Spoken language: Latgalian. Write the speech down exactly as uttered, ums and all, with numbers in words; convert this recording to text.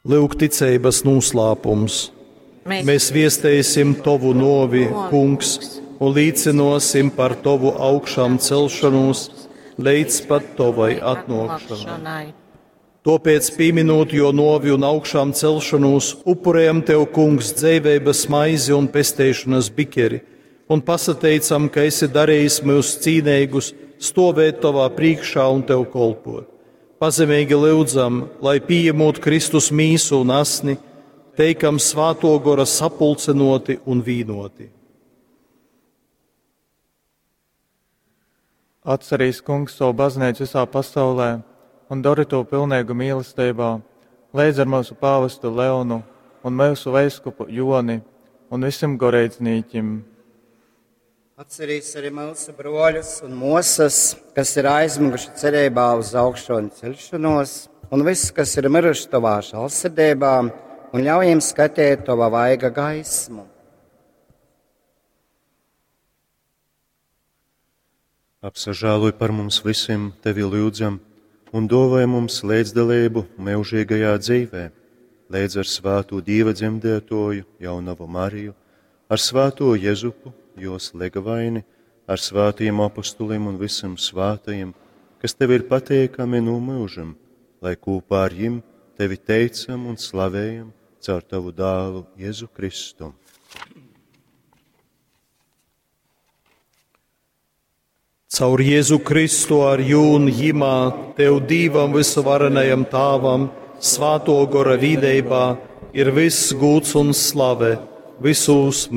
Lūk, ticeibas noslēpums. Mēs viestēsim Tovu novi, Kungs, un līcinosim par Tovu augšām celšanos līdz pat Tovai atnākšanai. Tāpēc, pieminot jo novi un augšām celšanos, upurējam Tev, Kungs, dzīvības maizi un pesteišanas bikeri, un pasateicam, ka esi darījis mūs cīnīgus, stovēt Tavā priekšā un Tev kolpot. Pazemīgi lūdzam, lai pieņemot Kristus mīsu un asni, teikam svāto gora sapulcenoti un vīnoti. Atcerīs kungs savu baznīcu visā pasaulē un dari to pilnīgu mīlestībā, līdz ar mūsu pāvestu Leonu un mūsu veiskupu Joni un visiem goreidznīķim. Atcerīs arī mūsu broļus un mosas, kas ir aizmiguši cerībā uz augšanu celšanos, un visus, kas ir miruši tavā žēlsirdībā, un ļauj jiem skatīt tava vaiga gaismu. Apsažāluj par mums visiem, tevi lūdzam, un dāvāj mums līdzdalību mūžīgajā dzīvē, līdz ar svāto Dieva dzemdētoju, jaunavu Mariju, ar svāto Jezupu, jos legavaini, ar svātajiem apostuliem un visiem svātajiem, kas tev ir pateikami no mūžam, lai kopā ar jim tevi teicam un slavējam caur tavu dālu Jēzu Kristu. Caur Jēzu Kristu ar jūn jimā, Tev Dīvam visuvarenajam Tāvam, svāto gora vīdeibā, ir viss gūts un slave, visos mūžos.